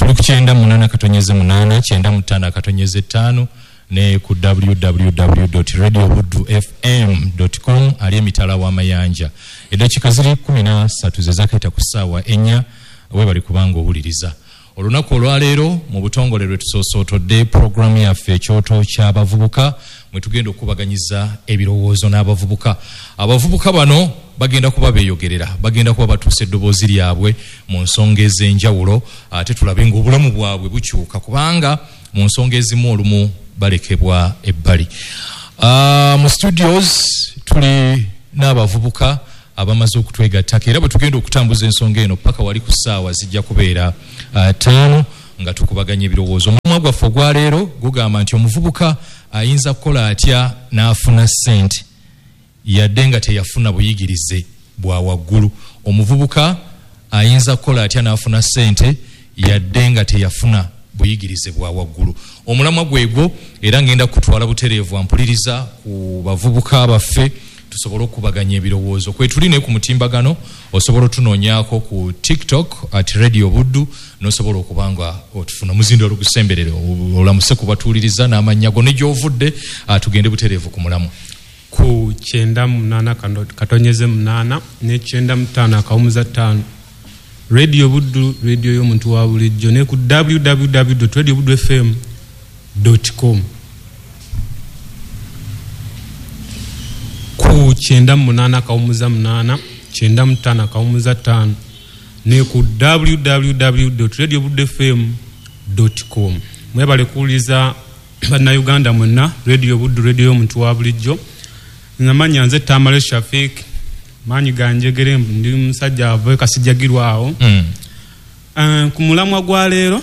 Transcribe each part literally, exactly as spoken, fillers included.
Tuli ku kyenda munaana katonyeze munaana, kyenda mu ttaano akatonyeze ttaano, ne ku w w w dot radio buddu f m dot com ali emitala w'amayanja. Eddakiika ziri kkumi na ssatu ze zaakayita ku ssaawa ennya, weebale kubanga owuliriza. Olunaku olwaleero mu butongole lwe tusoosootodde pulogulaamu yaffe ekyoto ky'abavubuka, mwe tugenda okubaganyiza ebirowoozo n'abavubuka. Abavubuka bano bagenda kuba beeyogerera, bagenda kuba batuusa eddoboozi lyabwe mu nsonga ez'enjawulo, ate tulabe ng'obulamu bwabwe bukyuka, kubanga mu nsonga ezimu olumu balekebwa ebbali. Uh, mu studios tuli n'abavubuka abamaze okutwegattako, era bwe tugenda okutambuza ensonga eno paka wali ku ssaawa zijja kubeera uh, ttaano nga tukubaganya ebirowoozo. Omulamwa gwaffe ogwaleero gugamba nti omuvubuka ayinza kukola atya n'afuna ssente yadde nga teyafuna buyigirize bwa waggulu. Omuvubuka ayinza kukola atya n'afuna ssente yadde nga teyafuna buyigirize bwa waggulu. Omulamwa gwegwo, era ngenda kutwala butereevu ampuliriza ku bavubuka baffe tusobole okubaganya ebirowoozo. Kwe tuli ne ku mutimbagano, osobola otunoonyaako ku TikTok at Radio Buddu, n'osobola okuba nga otufuna. Muzindo olugusemberere, olamuse kubatuuliriza n'amannya go ne gy'ovudde, tugende butereevu ku mulamwa. Ku kyenda munaana katonyeze munaana ne kyenda mu ttaano akawumuza ttaano. Radio Buddu, radio y'omuntu wa bulijjo, ne ku w w w dot radio buddu f m dot com. Ku kyenda munaana akawumuza munaana, kyenda mu ttaano akawumuza ttaano, ne ku w w w dot radio buddu f m dot com. Mwebale kuwuliriza Bannayuganda mwenna, Radio Buddu, radio y'omuntu wa bulijjo. Namanya nze Tamale Shafik, maanyi ganjegere, ndi musajja ava Kasijjagirwawo. Mm. Uh, ku mulamwa gwa leero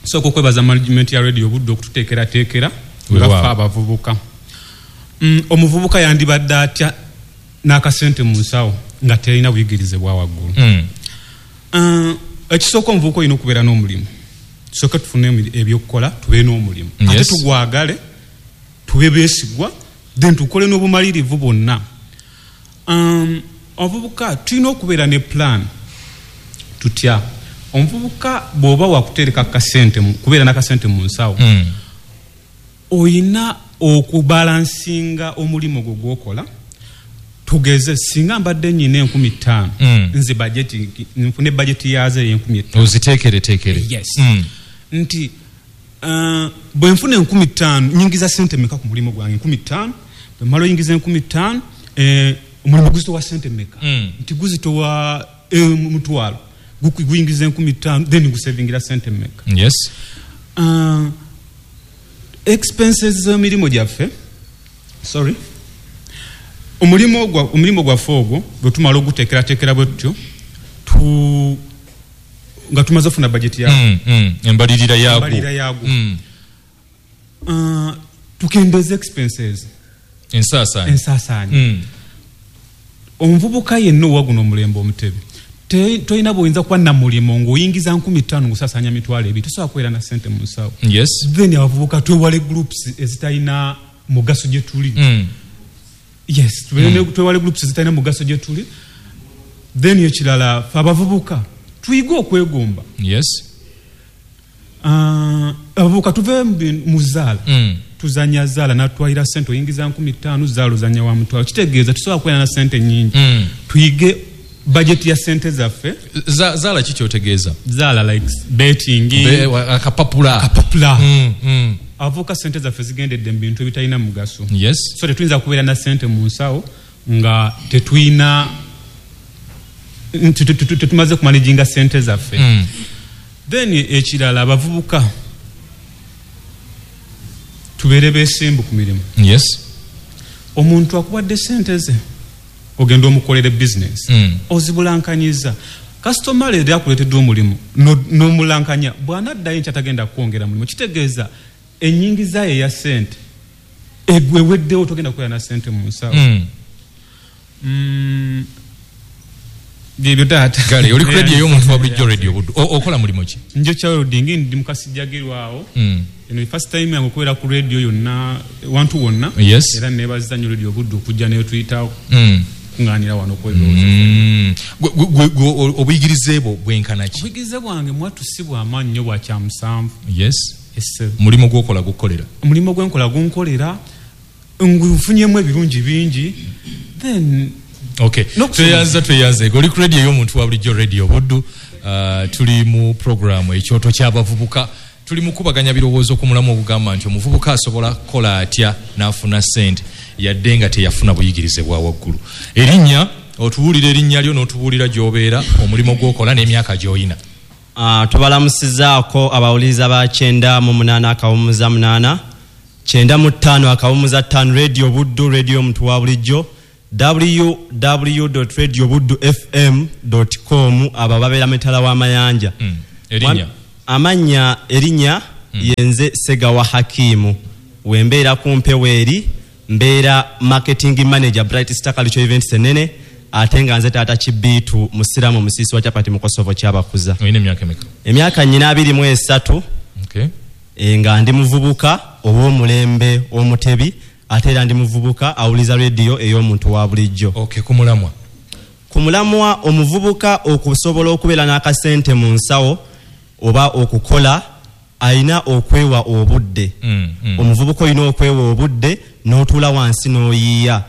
sooka okwebaza management ya Radio Buddu okututeekerateekera nga ffe abavubuka. Mm, omuvubuka yandibadde atya n'akasente mu nsawo nga terina buyigirize bwa waggulu? Mm. Uh, ekisooka omuvubuka olina okubeera n'omulimu. Tusooke tufune ebyokukola, tubeere n'omulimu. Yes. Ate tugwagale, tube beesigwa, then tukole n'obumalirivu bwonna. Um, omuvubuka tulina okubeera ne plan. Tutya? Omuvubuka bw'oba wakutereka akasente, kubeera n'akasente mu nsawo, mm. oyina okubalansinga omulimu gwo gw'okola. Tugeze singa mbadde nnyina enkumi ttaano, mm. nze bajeti, nfune bajeti yaazo ey'enkumi ttaano. Oziteekereteekere. Yes. Mm. Nti uh, bwe nfuna enkumi ttaano, nnyingiza ssente mmeka ku mulimu gwange? Enkumi ttaano. Bwe mmala oyingiza enkumi ttaano, eh, omulimu guzitowa ssente mmeka? Mm. Nti guzitowa eh, mutwalo. Guyingiza enkumi ttaano, then gusevingira ssente mmeka? Yes. Uh, expenses z'emirimu gyaffe, sorry, omulimu gwa omulimu gwaffe ogwo bwe tumala oguteekerateekera bwe tutyo, tu nga tumaze okufuna bajeti yaagwo. Mm, mm, embalirira yaagwo. Embalirira yaagwo. Mm. Uh, tukendeeze expenses. Ensaasaanya. Ensaasaanya. Mm. Omuvubuka yenna owa guno omulembe Omutebi, tolina bw'oyinza kuba na mulimu ng'oyingiza nkumi ttaano ng'osaasaanya mitwalo ebiri, tosobola kubeera na ssente mu nsawo. Yes. Then abavubuka twewale groups ezitalina mugaso gye tuli. Mm. Yes, mm. twewale groups ezitalina mugaso gye tuli. Then ekirala, ffe abavubuka tuyige okwegomba. Yes. Uh, abavubuka tuve mu zaala. Mm. Tuzanya zaala natwalira ssente, oyingiza nkumi ttaano, zaala ozanya wa mutwalo. Kitegeeza tusobola kubeera na ssente nnyingi. Mm. Tuyige bajeti ya ssente zaffe. Zaala ki kyotegeeza? Zaala like betting. Be, akapapula. Akapapula. Mm, mm. Abavubuka ssente zaffe zigendedde mu bintu ebitalina mugaso. Yes. So tetuyinza kubeera na ssente mu nsawo nga tetuyina tetumaze kumanaginga ssente zaffe. Mm. Then ekirala, abavubuka tubeere beesimbu ku mirimu. Yes. Omuntu akuwadde ssente ze, ogenda omukolere business, mm. ozibulankanyiza. Kasitoma leero akuleetedde omulimu n'omulankanya, bw'anaddayo enkya tagenda kwongera mulimu. Kitegeeza ennyingiza ye eya ssente eweddewo, togenda kubeera na ssente mu nsawo. Mm. Mm. Byebyo taata. Kale oli ku radio y'omuntu wa bulijjo, Radio Buddu. Okola mulimu ki? Njokya welding, ndi mu Kasijjagirwawo. Mm. Eno first time yange okubeera ku radio yonna, wantu wonna. Yes. Era neebaza nnyo Radio Buddu okujja n'etuyitawo. Mm. kukuŋŋaanira wano okwebirowoozo. Mm. Gwe- gwe- gwe- obuyigirize bwo bwenkana ki? Obuyigirize bwange mwattu si bw'amaanyi nnyo, bwa kyamusanvu. Yes. Esse. Mulimu gwokola gukukolera? Omulimu gwenkola gunkolera, ngufunyemu ebirungi bingi, then Okay. N'okusoma. Tweyanza, tweyanze. Oli ku radio ey'omuntu wa bulijjo, Radio Buddu. Uh, tuli mu programu Ekyoto ky'Abavubuka. Tuli mu kubaganya birowoozo ku mulamu ogugamba nti omuvubuka asobola kukola atya n'afuna ssente yadde nga teyafuna buyigirize bwa waggulu. Erinnya, otubuulira erinnya lyo n'otubuulira gy'obeera, omulimu gw'okola n'emyaka gy'oyina. Ah, tubalamusizaako abawuliriza ba kyenda mu munaana akawumuza munaana, kyenda mu ttaano akawumuza ttaano, Radio Buddu, radio omuntu wa bulijjo, w w w radio buddu f m com. Abo babeera mitala w'amayanja. Mm. Erinnya? Amannya, erinnya yenze Segawa Hakimu. Wembeera ku mpewo eri mbeera marketing manager, Bright Star Cultural Events enene, ate nga nze taata Kibiitu, musiramu, musiisi wa chapati mu Kosovo kyabakuza. Olina emyaka emeka? Emyaka nyina abiri mu esatu. Okay. E, nga ndi muvubuka ow'omulembe omutebi, ate era ndi muvubuka awuliza rediyo ey'omuntu wa bulijjo. Okay, ku mulamwa. Ku mulamwa, omuvubuka okusobola okubeera n'akasente mu nsawo oba okukola, alina okwewa obudde. Mm, mm. Omuvubuka olina okwewa obudde n'otuula wansi n'oyiiya.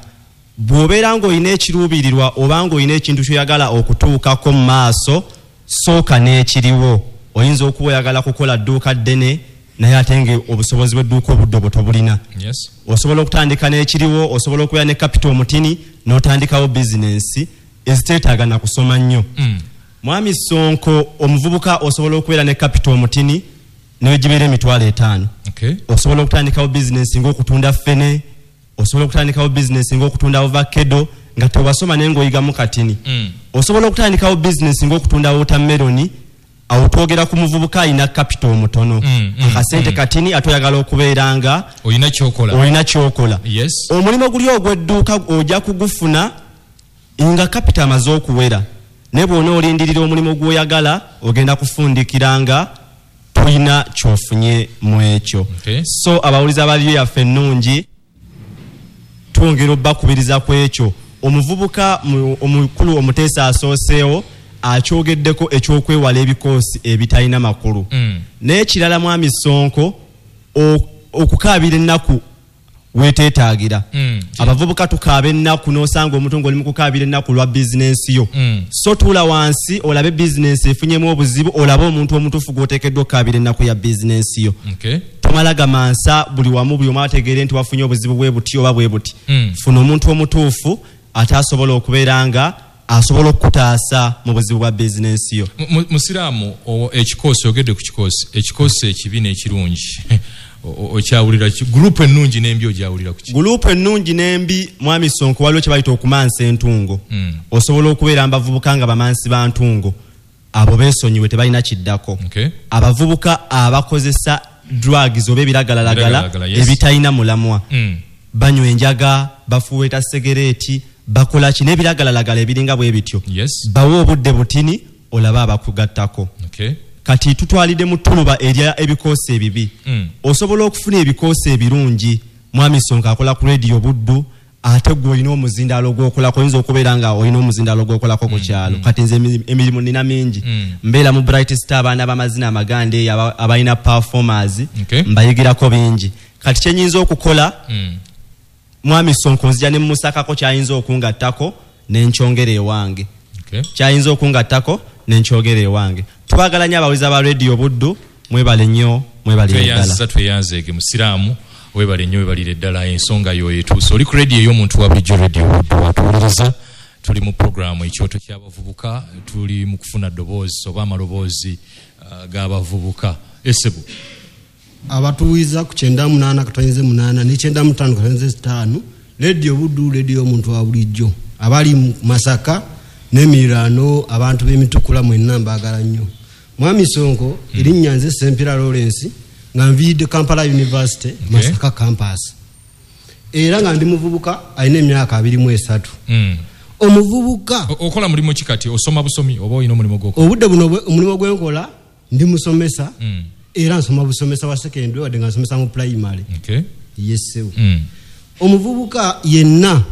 Bw'obeera ng'olina ekiruubirirwa oba ng'olina ekintu ky'oyagala okutuukako mu maaso, sooka n'ekiriwo. Oyinza okuba oyagala kukola dduuka ddene, naye ate nga obusobozi bw'edduuka obudde obwo tobulina. Yes. Osobola okutandika n'ekiriwo. Osobola okubeera ne capital omutini n'otandikawo bizinensi eziteetaaga na kusoma nnyo. Mm. Mwami Sonko, omuvubuka osobola okubeera ne capital omutini negibeera emitwalo etaano. Okay. Osobola okutandikawo bizinensi ng'okutunda ffene, osobola okutandikawo bizinensi ng'okutunda ovakedo nga tewasoma naye ng'oyigamu katini. Mm. Osobola okutandikawo bizinensi ng'okutunda watermelon. Awo twogera ku muvubuka alina capital omutono, Mm, mm, akasente mm. katini, ate oyagala okubeera nga olina kyokola. Olina kyokola. Yes. Omulimu guli ogw'edduuka ojja kugufuna nga capital amaze okuwera, naye bw'ona olindirira omulimu gw'oyagala, ogenda kufundikira nga tolina kyofunye mu ekyo. Okay. So abawuliza baliyo yaffe ennungi, twongera obbakubiriza ku ekyo. Omuvubuka mu- omukulu omuteesa asooseewo akyogeddeko ekyokwewala ebikoosi ebitalina makulu. Mm. N'ekirala, mwami Sonko, o- okukaabira ennaku weteetaagira. Mm. Abavubuka tukaaba ennaku, n'osanga omuntu ng'oli mu kukaabira ennaku lwa bizinensi yo. Mm. So tuula wansi olabe bizinensi efunyemu obuzibu, olabe omuntu omutuufu gw'oteekeddwa okukaabira ennaku ya bizinensi yo. Okay. Tomala gamansa buli wamu, buli omu ategeere nti wafunye obuzibu bwe buti oba bwe buti. Mm. Funa omuntu omutuufu ate asobola okubeera nga asobola okukutaasa mu buzibu bwa bizinensi yo. Mu- mu- musiraamu o- ekikoosi, ogedde ku kikoosi, ekikoosi ekibi n'ekirungi O- o- okyawulira ki? Gurupu ennungi n'embi ogyawulira ku ki? Gurupu ennungi n'embi, mwami Sonko, waliwo kye bayita okumansa entungo. Mm. Osobola okubeera mu bavubuka nga bamansi ba ntungo, abo beesonyiwe, tebalina kiddako. Okay. Abavubuka abakozesa drugs oba ebiragalalagala Ebiragalalagala, yes. ebitalina mulamwa, Mm. banywa enjaga, bafuweeta segereeti, bakola ki n'ebiragalalagala ebiringa bwe bityo. Yes. Bawe obudde butini olabe abakugattako. Okay. Kati tutwalidde mu ttuluba erya ebikoosi ebibi. Mm. Osobola okufuna ebikoosi ebirungi. Mwami Sonko akola ku Radio Buddu, ate gwe olina omuzindaalo gwokolako, oyinza okubeera nga olina omuzindaalo gwokolako ku kyalo. Kati nze emi- emirimu nina mingi. Mm. Mbeera mu Bright Star, abaana b'amazina amaganda eyo aba- abalina performers, Okay. mbayigirako bingi. Kati kyenyinza okukola, Mm. mwami Sonko, nzija ne musakako kyayinza okungattako nenkyongera ewange. Okay. Kyayinza okungattako nenkyogera ewange. Twagala nnyo abawuliza ba Radio Buddu, mwebale nnyo, mwebalire ddala. Tweyanziza, tweyanzeege. Musiraamu, webale nnyo, webalire ddala, ensonga yo etuuse. Oli ku radio ey'omuntu wa bulijjo, Radio Buddu, watuwuliriza. Tuli mu programu Ekyoto ky'Abavubuka. Tuli mu kufuna ddoboozi oba amaloboozi uh, g'abavubuka. Esebu. Abatuwiza ku kyenda munaana katonyeze munaana ne kyenda mutaano katonyeze ttaano, Rediyo Buddu, rediyo omuntu wa bulijjo. Abali mu Masaka n'emiriraano, abantu b'emitukula mwenna mbaagala nnyo. Mwami Sonko, erinnya nze Sempira Lawrence, nga nviiridde Kampala University, Masaka campus, era nga ndi muvubuka alina emyaka abiri mu esatu. Mm. Omuvubuka O- okola mulimu ki kati? Osoma busomi oba olina omulimu gwokola? Obudde buno bwe- omulimu gwenkola, ndi musomesa. Mm. Era nsoma busomesa wa secondary, wadde nga nsomesa mu primary. Okay. Yessewo. Mm. Omuvubuka yenna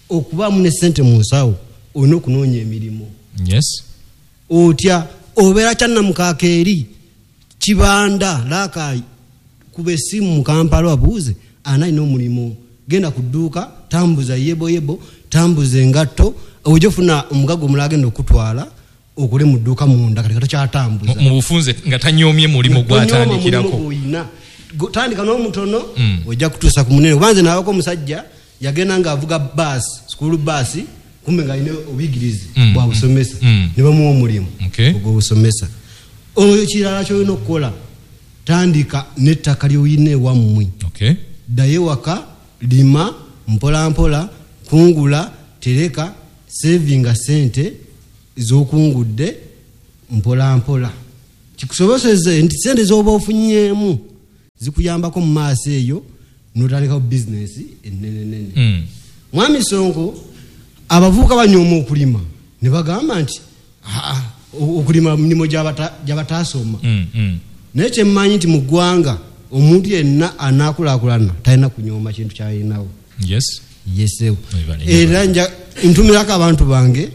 Okubaamu ne ssente mu nsawo olina okunoonya emirimu. Yes. Otya obeera Kyannamukaaka eri Kibanda Rakai, kuba essimu mu Kampala wabuuze ani alina omulimu, genda ku dduuka tambuza yebo yebo, tambuza engatto, ojja ofuna omugaga omulala agenda okutwala okole mu dduuka munda, kati tokyatambuza. Mu bufunze nga tanyoomye mulimu gw'atandikirako. Tandika n'omutono ojja kutuusa ku munene. Kuba nze nabako omusajja yagenda ng'avuga baasi, school bus, kumbe ng'alina obuyigirize bwa busomesa, ne bamuwa omulimu ogw'obusomesa. Ekirala ky'olina okukola, tandika n'ettaka ly'olina ewammwe. Ddayo ewaka, lima mpola mpola, kungula, tereka, sevinga ssente z'okungudde mpola mpola, kikusoboseze nti ssente z'oba ofunyeemu zikuyambako mu maaso eyo n'otandikawo bizinesi ennenenene. Mwami Sonko, abavubuka banyooma okulima ne bagamba nti okulima mirimu gy'abataasoma. Naye kyemmanyi nti mu ggwanga omuntu yenna anaakulaakulana talina kunyooma kintu ky'alinawo. Yesewo. Era ntumirako abantu bange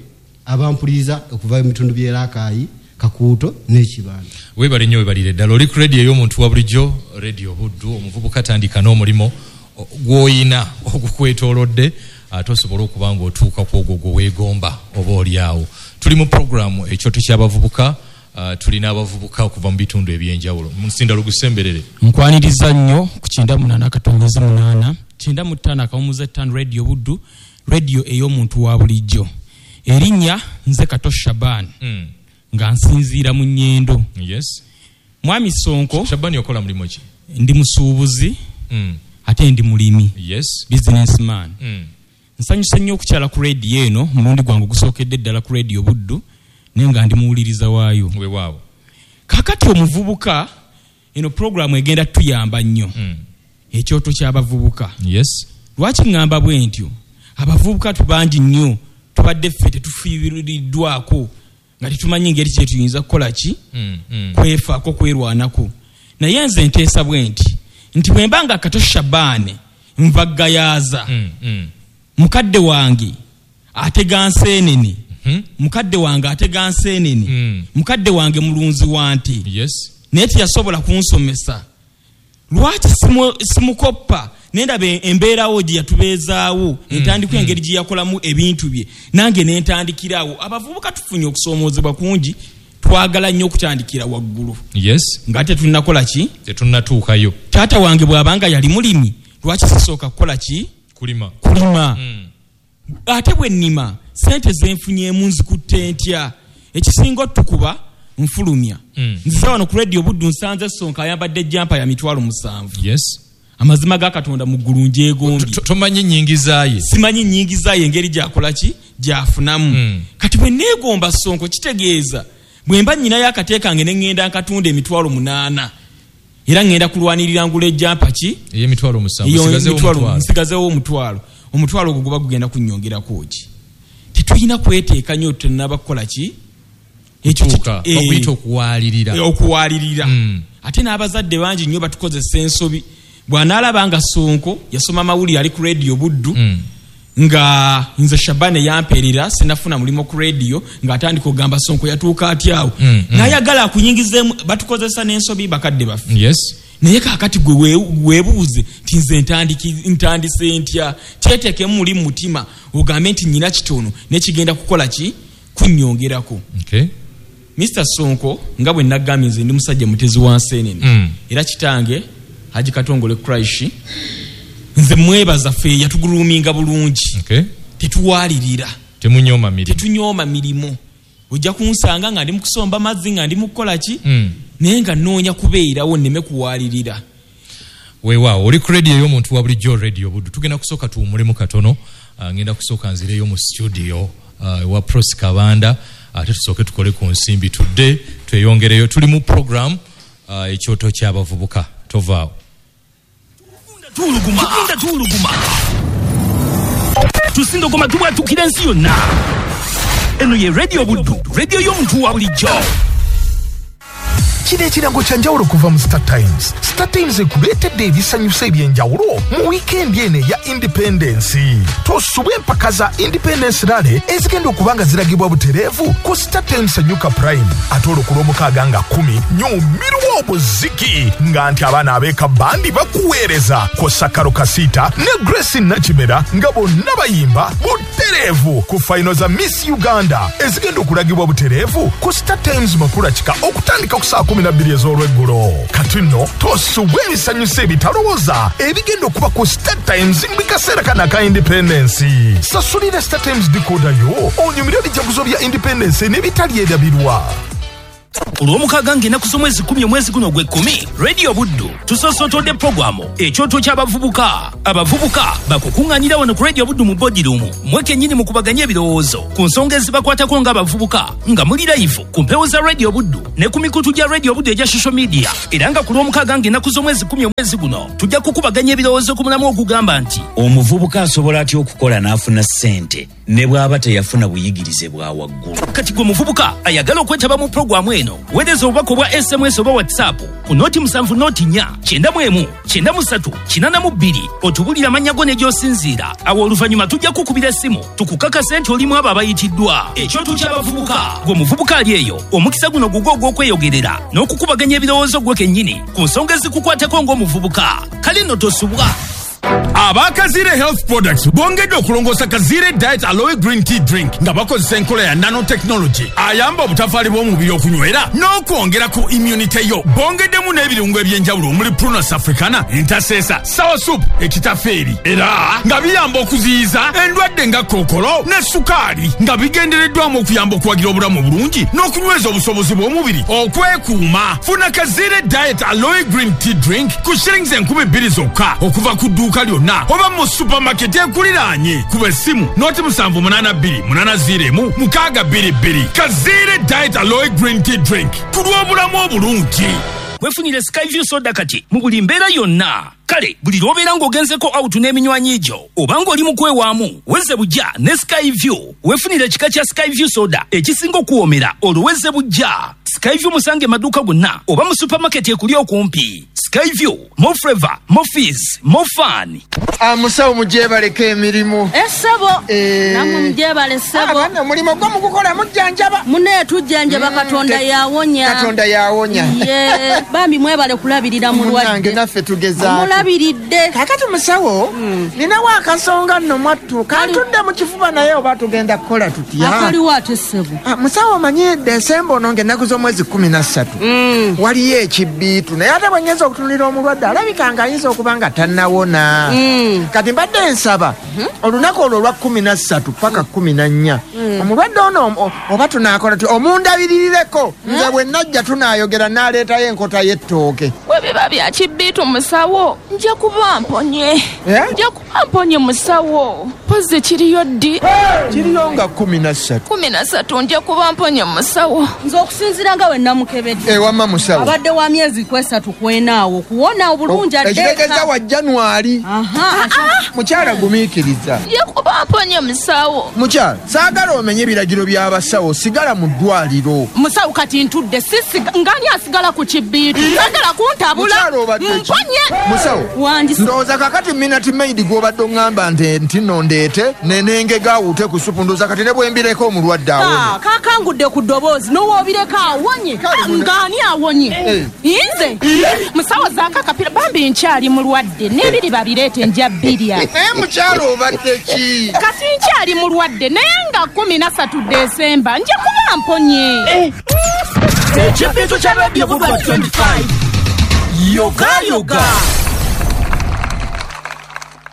abampuliriza okuva mu bitundu by'e Rakai, Kakuuto n'Ekibanda. Weebale nnyo, weebalire ddala. Oli ku rediyo ey'omuntu wa bulijjo, rediyo Buddu. Omuvubuka tandika n'omulimu gw'oyina ogukwetoolodde, ate osobole okuba ng'otuuka ku ogwo gwe weegomba oba oli awo. Tuli mu puroguramu ekyoto ky'abavubuka, tulina abavubuka okuva mu bitundu eby'enjawulo. Musinda lugusemberere. Nkwaniriza nnyo ku kyenda munaana akatongeze munaana, kyenda mu ttaano akawumuza ttaano, rediyo Buddu, rediyo ey'omuntu wa bulijjo. Erinnya nze Kato Shaban, nga nsinziira mu Nnyendo. Yes. Mwami Sonko, Shaban okola mulimu ki? Ndi musuubuzi, ate ndi mulimi. Yes. Businessman. Nsanyuse nnyo okukyala ku rediyo eno, mulundi gwange ogusookedde ddala ku rediyo Buddu, naye nga ndi muwuliriza waayo. Weewaawo. Kaakati omuvubuka, eno puroguramu egenda tuyamba nnyo. Ekyoto ky'abavubuka. Yes. Lwaki ŋŋamba bwe ntyo? Abavubuka tubangi nnyo, tubadde ffe tetufiiriddwako, nga tetumanyi ngeri kye tuyinza kukola ki? Kwefaako, kwerwanako. Naye nze nteesa bwe nti, nti bwe mba nga Kato Shaban nva Gayaaza, mukadde wange atega nseenene, mukadde wange atega nseenene, mukadde wange mulunzi wa nte, naye teyasobola kunsomesa. Lwaki simukoppa nendaba embeerawo gye yatubeezaawo, entandikwa engeri gye yakolamu ebintu bye, nange nentandikirawo. Abavubuka tufunye okusoomoozebwa kungi, twagala nnyo okutandikira waggulu. Yes. Nga tetunnakola ki? Tetunnatuukayo. Taata wange bw'abanga yali mulimi, lwaki sisooka kukola ki? Kulima. Kulima. Ate bwe nnima, ssente ze nfunyeemu nzikutte ntya? Ekisinga otukuba nfulumya. Nziza wano ku rediyo Buddu nsanze Sonko ayambadde ejjampa ya mitwalo musanvu. Yes. Amazima ga Katonda mu ggulu njegombye. Tomanyi nnyingiza ye. Simanyi nnyingiza ye engeri gy'akola ki? Gy'afunamu. Kati bwe neegomba Sonko kitegeeza bwe mba nnyinayo akate kange ne ŋŋenda nkatunda emitwalo munaana, era ŋŋenda kulwanirira ngula ejjampa ki? Ey'emitwalo musanvu, nsigazeewo omutwalo. Omutwalo ogwo guba gugenda kunnyongerako ki? Tetulina kweteeka nnyo tunnaba kukola ki? Ekyo okuwaalirira. Okuwaalirira. Ate n'abazadde bangi nnyo batukozesa ensobi. Bw'anaalaba nga Sonko yasoma amawulire ali ku rediyo Buddu, nga nze Shaban yampeerera sinafuna mulimu ku rediyo, ng'atandika okugamba Sonko yatuuka atya awo. N'ayagala akuyingizeemu, batukozesa n'ensobi bakadde baffe. Yes. Naye kaakati gwe weebuuze nti nze ntandise ntya? Kyeteekemu muli mu mutima ogambe nti nnyina kitono naye kigenda kukola ki? Kunnyongerako. Okay. Mister Sonko, nga bwe nagambye nze ndi musajja mutezi wa nseenene. Era kitange Haji Katongole Kraishi, nze mwebaza ffe yatuguluminga bulungi. Okay. Tetuwalirira. Temunyooma mirimu. Tetunyooma mirimu. Ojja kunsanga nga ndi mu kusomba mazzi nga ndi mu kukola ki? Naye nga nnoonya kubeerawo nneme kuwalirira. Weewaawo, oli ku rediyo ey'omuntu wa bulijjo, rediyo Buddu. Tugenda kusooka tuwummulemu katono. Ngenda kusooka nzireyo mu studio ewa Prosi Kabanda, ate tusooke tukole ku nsimbi tudde tweyongereyo. Tuli mu program ekyoto ky'abavubuka. Tovaawo. Tuuluguma, tugenda tuuluguma, tusindogoma tubwatukira ensi yonna. Eno ye Radio Buddu, radio y'omuntu wa bulijjo. Kino ekirango kya njawulo kuva mu Star Times. Star Times ekuleetedde ebisanyusa eby'enjawulo mu wiikendi eno eya Independence. Tosubwa empaka za Independence Rally ezigenda okuba nga ziragibwa butereevu ku Star Times Sanyuka Prime. Ate olwo ku Lwomukaaga nga kkumi nyumirwa obuziki nga nti abaana ab'eka bandi bakuweereza kw'ossa Karo Kasita ne Grace Nakimera nga bonna bayimba butereevu ku fayino za Miss Uganda ezigenda okulagibwa butereevu ku Star Times Makula Kika okutandika ku saa kumi na bbiri ez'olweggulo. Kati nno tosubwa ebisanyusa ebitalowooza ebigenda okuba ku Star Times mu kaseera kano aka Independence. Sasulira Star Times decoder yo onyumire ebijaguzo bya Independence n'ebitali erabirwa. Olwomukaaga ng'ennaku z'omwezi kkumi omwezi guno ogw'ekkumi, Radio Buddu tusoosotodde pulogulaamu ekyoto ky'abavubuka. Abavubuka bakukuŋŋaanira wano ku Radio Buddu mu boardroom mmwe kennyini mukubaganye ebirowoozo ku nsonga ezibakwatako ng'abavubuka nga muli live ku mpewo za Radio Buddu ne ku mikutu gya Radio Buddu egya social media. Era nga ku Lwomukaaga ng'ennaku z'omwezi kkumi omwezi guno tujja kukubaganya ebirowoozo ku mulamu ogugamba nti omuvubuka asobola atya okukola n'afuna ssente ne bw'aba teyafuna buyigirize bwa waggulu. Kati gwe muvubuka ayagala okwetaba mu pulogulaamu eno, weereza obubaka obwa S M S oba WhatsApp ku noti musanvu noti nnya kyenda mu emu kyenda mu ssatu kinaana mu bbiri otubulire amannya go ne gy'osinziira. Awo oluvannyuma tujja kukubira essimu tukukakase nti olimu abo abayitiddwa. Ekyoto ky'abavubuka. Gwe muvubuka ali eyo, omukisa guno gugwo ogw'okweyogerera n'okukubaganya ebirowoozo gwe kennyini ku nsonga ezikukwatako ng'omuvubuka. Kale nno tosubwa. Abakazire Health Products bongedde okulongoosa Kazire Diet Aloe Green Tea Drink nga bakozesa enkola ya nanotechnology ayamba obutafaali bw'omubiri okunywera n'okwongera ku immunity yo. Bongeddemu n'ebirungo eby'enjawulo omuli Prunus africana, entasesa, sour soup, ekitafeeri, era nga biyamba okuziyiza endwadde nga kookolo ne sukaali, nga bigendereddwamu okuyamba okuwagira obulamu obulungi n'okunyweza obusobozi bw'omubiri okwekuuma. Funa Kazire Diet Aloe Green Tea Drink ku shillings enkumi bbiri zokka okuva ku dduuka lyonna oba mu supermarket ekuliraanye. Kuba essimu noti musanvu munaana bbiri munaana ziro emu mukaaga bbiri bbiri. Kazire Diet Aloe Green Tea Drink ku lw'obulamu obulungi. Weefunire Skyview Soda kati mu buli mbeera yonna. Kale buli lw'obeera ng'ogenzeko out n'eminywanyi gyo oba ng'oli mu kwewaamu, wezze bujja ne Skyview. Weefunire ekika kya Skyview Soda ekisinga okuwoomera olwo wezze bujja. Skyview musange maduuka gonna oba mu supermarket ekuli okumpi. Skyview, more flavor, more fizz, more fun. Amusawo mujebaleko emirimu. Essebo. Namwe mujebale ssebo. Abaana omulimu gwo mugukola mujjanjaba. Munne tujjanjaba, Katonda yawonya. Katonda yawonya. Ye, bambi mwebale kulabirira mulwadde. Munnange naffe tugezaako. Mulabiridde. Kaakati musawo, ninawo akasonga nno mwattu. Kantudde mu kifuba naye oba tugenda kukola tutya? Akaliwo ate ssebo. Musawo omanyi Desemba ono ng'ennaku z'omwezi kkumi na ssatu. Waliyo ekibbiitu naye ate bwe ngenza okutunulira omulwadde alabika ng'ayinza okuba nga tannawona. Kati mbadde nsaba olunaku olwo olwa kkumi na ssatu paka kkumi na nnya omulwadde ono oba tunaakola ti omundabirireko nze bwe najja tunaayogera n'aleetayo enkota y'ettooke. Bwe biba bya kibbiitu musawo nja kuba mponye. Nja kuba mponye musawo. Mpozi kiriyo ddi? Kiriyo nga kkumi na ssatu. Kkumi na ssatu nja kuba mponye musawo. Nze okusinziira nga we namukebedde. Ewamma musawo. Abadde wa myezi kwesatu kwenaawo okuwona obulungi adde. Ekitegeeza wa January. Mukyala gumiikiriza. Nja kuba mponye musawo. Mukyala, saagala omenye ebiragiro by'abasawo, sigala mu ddwaliro. Musawo kati ntudde sisi ngani asigala ku kibbiitu. Saagala kuntabula. Mponye. Musawo. Ndowooza kakati Minute Maid gw'obadde oŋŋamba nti nti nno ndeete nenengega awuute ku supu, ndowooza kati ne bwe mbireko omulwadde awonye. Kakangudde ku ddoboozi n'owoobireko awonye. Ng'ani awonye? Nze musawo zaako akapira bambi nkyali mulwadde n'ebiri babireete nja bbirya. Naye mukyala obadde ki? Kati nkyali mulwadde naye nga kkumi na ssatu Desemba nja kuba mponye. Ekibbiitu kya Radio Buddu twenty-five. Yoga yoga.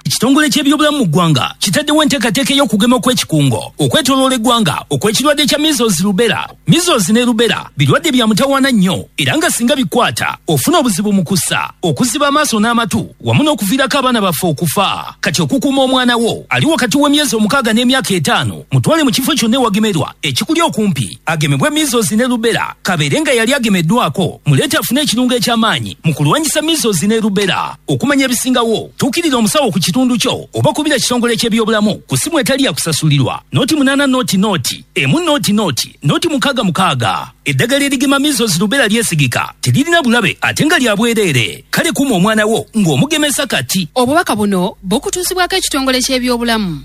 Ekitongole ky'ebyobulamu mu ggwanga kitaddewo enteekateeka ey'okugema okw'ekikungo okwetooloola eggwanga okw'ekirwadde kya measles rubella. Measles ne rubella birwadde bya mutawaana nnyo era nga singa bikwata ofuna obuzibu mu kussa, okuziba amaaso n'amatu wamu n'okuviirako abaana baffe okufa. Kati okukuuma omwana wo ali wakati w'emyezi omukaaga n'emyaka etaano mutwale mu kifo kyonna ewagemerwa ekikuli okumpi agemebwe measles ne rubella, kabeere nga yali agemeddwako muleete afune ekirungo eky'amaanyi mu kulwanyisa measles ne rubella. Okumanya ebisingawo tuukirira omusawo ku kitundu. kitundu kyo oba kubira kitongole ky'ebyobulamu ku simu etali ya kusasulirwa noti munaana noti noti emu noti noti noti mukaaga mukaaga. Eddagala erigema measles rubella lyesigika, teririna bulabe ate nga lya bwereere. Kale kuuma omwana wo ng'omugemesa kati. Obubaka buno bukutuusibwako ekitongole ky'ebyobulamu.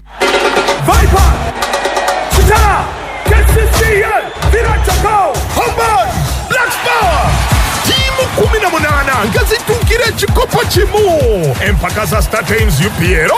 Viper, Kitara, K C C A, Villa Chakao, Hamburg, Black Power. Timu kumi na munaana nga zituukira ekikopo kimu. Empaka za Star Times U P L